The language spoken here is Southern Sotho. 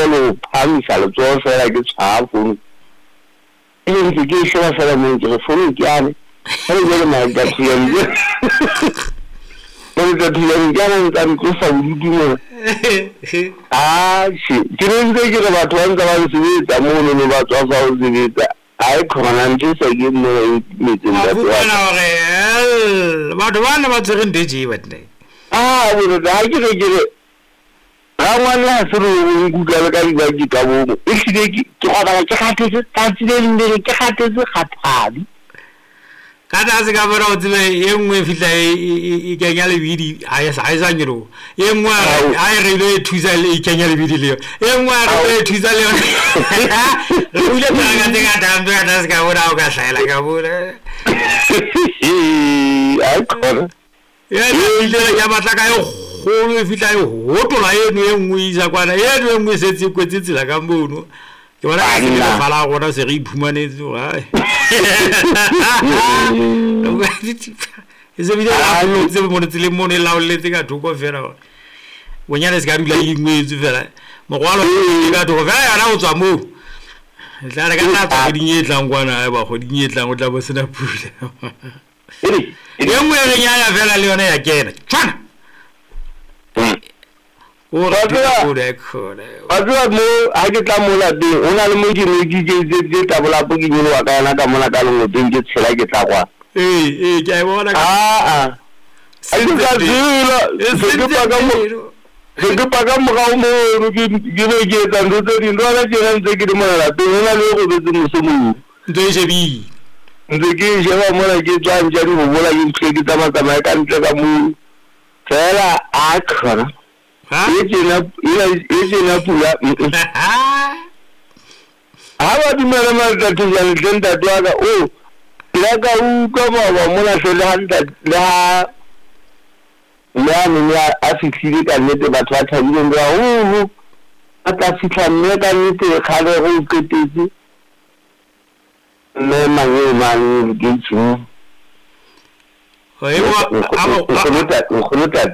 ntle le ho phahamisa letsoho feela ke tshwara fono. Ebe ntse ke e sheba feela moo ke re fono ke yane. Jwale jwale matathiane matathiane ke ana ntsa ntlosa bodutu mona. Atjhe, ke ne ntse ke re batho ba ntse ba nsebetsa mono no ba tswafa ho sebetsa. Ae khona ntho e sa keng mona e ntumetse Wa ntate wa fumana ka. hore hell, batho ba ne ba tshwere ntho e tje banna. Ah, bontate ha ke re ke re rangwane ha se re o nkuka le ka dibaki ka bomo. Ehlile ke ke robala ke kgathetse tsatsi le leng le leng ke kgathetse kgathadi. Ka tlase ka mona o tsebe e nngwe e fihla e, e, e, e kenya lebidi ha e sa ha e sa nyoloha. E nngwe a re Ao. ha e re ilo e thusa le e kenya lebidi le yona. E nngwe a re Ao. ilo e thusa le yona. Re buile teraka tse ngata hampe ka tlase ka mona ha o ka hlahela ka mona. Ae khona. Ya fihlela ya batla ka e kgolo e fihla e hotola eno e nngwe e isa kwana eno e nngwe e setse e kwetse tsela ka mono. Ke bona ka se le Banna. lefa la rona se re iphumanetse hore ai. E se bile laollotse mono tseleng mono e laolletse ka thoko fela hore bonyane se ka dula e ingwetswe fela. Morwalo e ka thoko fela yona ho tswa moo. E tla re ka tla tswa kgweding e tlang kwana haeba kgweding e tlang o tla bo sena pula. E nngwe e reng ya ya fela le yona ya kena. Tshwana. O re Wa tseba- thoko e khona. Wa tseba mo ha ke tla mo lapeng ho na le mo ke ne ke ke tabolapo ke nyoloha ka yona ka mona ka lengopeng ke tshela ke tla kwana. Ee, ee, ke a e bona ka Aa. Ha ke sa tsela se ke paka mo se ke paka morao mono ke ke be ke etsa ntho tse ding. Jwale tjena ntse ke le mona lapeng ho na le e robetseng mose moo. Ntho e shebile. Ntse ke e sheba mona ke tswa ntja di hobola ke ntho e ke tsamaya-tsamaya ka ntle ka moo. Feela a khona. Ha? E tjena ena e tjena pula. Ha ba dumela matatejane hle ntate wa ka o ke la ka utlwa maoba mona hle le ha ntate le ha mme a nene a fihlile ka nnete batho ba thabileng ba haholo. A tla fihla mme ka nnete kgale re o qetetse. Mme mangeo mane lekeisheneng. E Nkgono tata.